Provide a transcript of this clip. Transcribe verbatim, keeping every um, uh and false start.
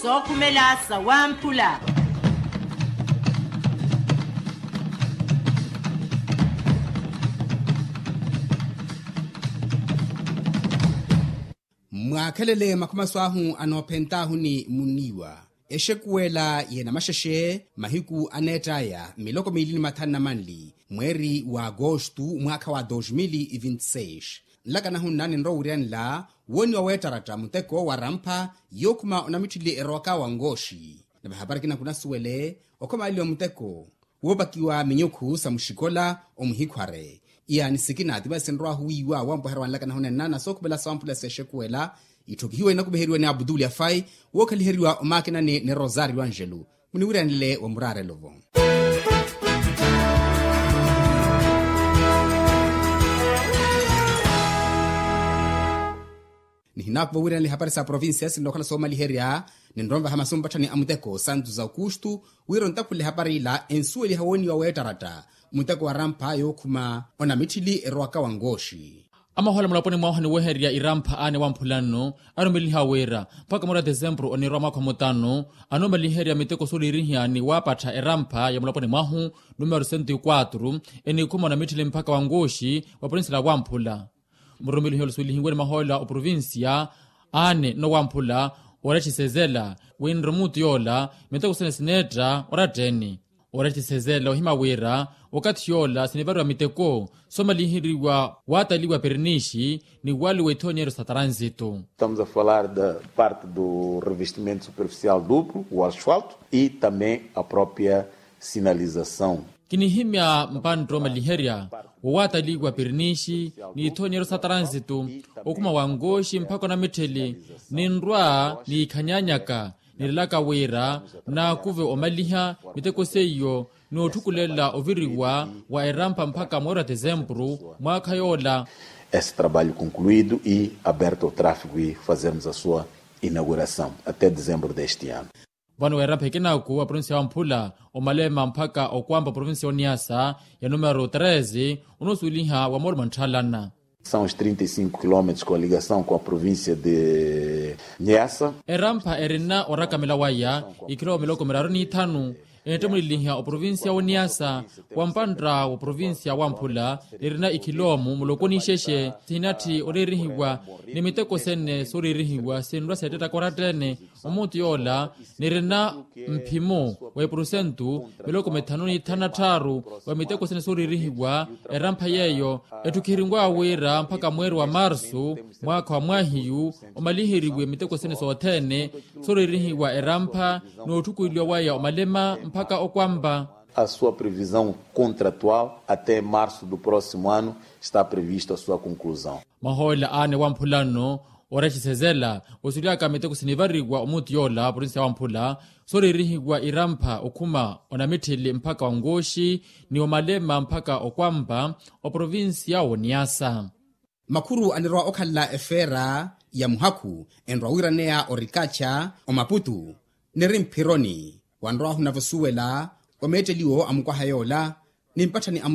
Sookhumela sawamphula. Mwaakhelele makhumaso ahu anoophent'ahu ni muniiwa, exekuwela y'enamaxexe mahiku aneett'aya miloko miili ni mathanu na manli mweeri wa agostu mwaakha wa dos mil e vinte e seis. Nlakanahu nna ninrowa owiryanela wooniwa weettaratta muteko wa rampha yookhuma onamitthili erowaka wa nkooxi. Nave hapari ekina khunasuwele okhomaaliwa muteko woopakiwa minyukhu sa muxikola omuhikhware. Iyaani sikina ti masi sinrow'ahu wiiwa wampweherya wa nlakanahu nenna na sookhupela sawamphula s'exekuwela itthokihiwa inakupiheriwa ni abutuli afai wookhaliheriwa omaakinani ni rosario angelo. Muniwiryanile wa muraarelo-vo. Nihinaakuva wiiranela ihapari sa provincia sinrowa okhala soomaliherya ninrowa onvaha masi mpatthani a muteko santu za okustu wira ontakhule ehapari ila ensuweliha wooniwa weettaratta muteko wa rampha yookhuma onamitthili erowaka wa nkooxi. Amahoola mulaponi mwahu aniwehererya irampha aane wamphula nno arumeliha wira mpakha mweeri wa desempuru oniirwa mwaakha omutanu anoomaliherya miteko sooliirihiya ni waapattha erampha ya mulaponi mwahu numero sento e kwatru eniikhuma onamitthili mpakha wa nkooxi wa provincia la wamphula. Murumelihi olusuwelihiwe ni mahoola oprovincia aane nnowamphula ooretthisezela winre omuutu yoola miteko sene sineetta oratta-ene. Ooretthisezela ohima wira wakathi yoola sinivariwa miteko soomaliheriwa waataliwa pirinishi ni waliwa ithonyero sa tranzito. Estamos a falar da parte do revestimento superficial duplo o asfalto e também a própria sinalização. Kinihimya mpantta omaliherya wowaataliwa pirinishi ni ithonyero sa tranzito okhuma wa nkooxi mpakha onamitthili ninrwa niikhanyanyaka nilelaka wira naakuve omaliha miteko seiyo n'otthukulela oviriwa wa erampha mpakha mweeri wa desempuru mwaakha yoola. Esse trabalho concluído e aberto ao tráfego e fazermos a sua inauguração até dezembro deste ano. Vano weerampha ekinaaku wa provincia ya wamphula omalema mpakha okwampa provincia ya oniasa ya numero treze onoosuweliha wa moorima ntthalana. São os trinta e cinco quilómetros com a ligação com a província de Niassa. Erampha erina orakamela waya ikhiloomu miloko miraru n'ithanu enittemuleliha oprovincia woniasa wa mpantta wa provincia wamphula nirina ikhiloomu muloko n'ixexe sihinatthi oriirihiwa ni miteko sene sooriirihiwa sinrwa seettettaka oratta-ene. Omuutu yoola nirina mphimo wa epurusentu miloko mithanu n'ithanu na tthaaru wa miteko sene sooriirihiwa erampha yeeyo etthukiheriw'awe wira mpakha mweeri wa marsu mwaakha wa mwaahiyu omaliheriwe miteko sene sothene sooriirihiwa erampha n'otthukuliwa waya omalema mpakha okwampa. A sua previsão contratual até março do próximo ano está previsto a sua conclusão. Mahoola aane wamphula nno oretthisezela osuly'aka miteko sinivariwa omuutu yoola provincia wamphula sooriirihiwa irampha okhuma onamitthili mpakha wa nkooxi ni omalema mpakha okwampa oprovincia woniasa. Makhuru anirowa okhalela efeera ya muhakhu enrowa wiiraneya orikacha omaputu niri mphironi wanrowahu nave osuwela omeetteliwo a mukwaha yoola ni mpatthani a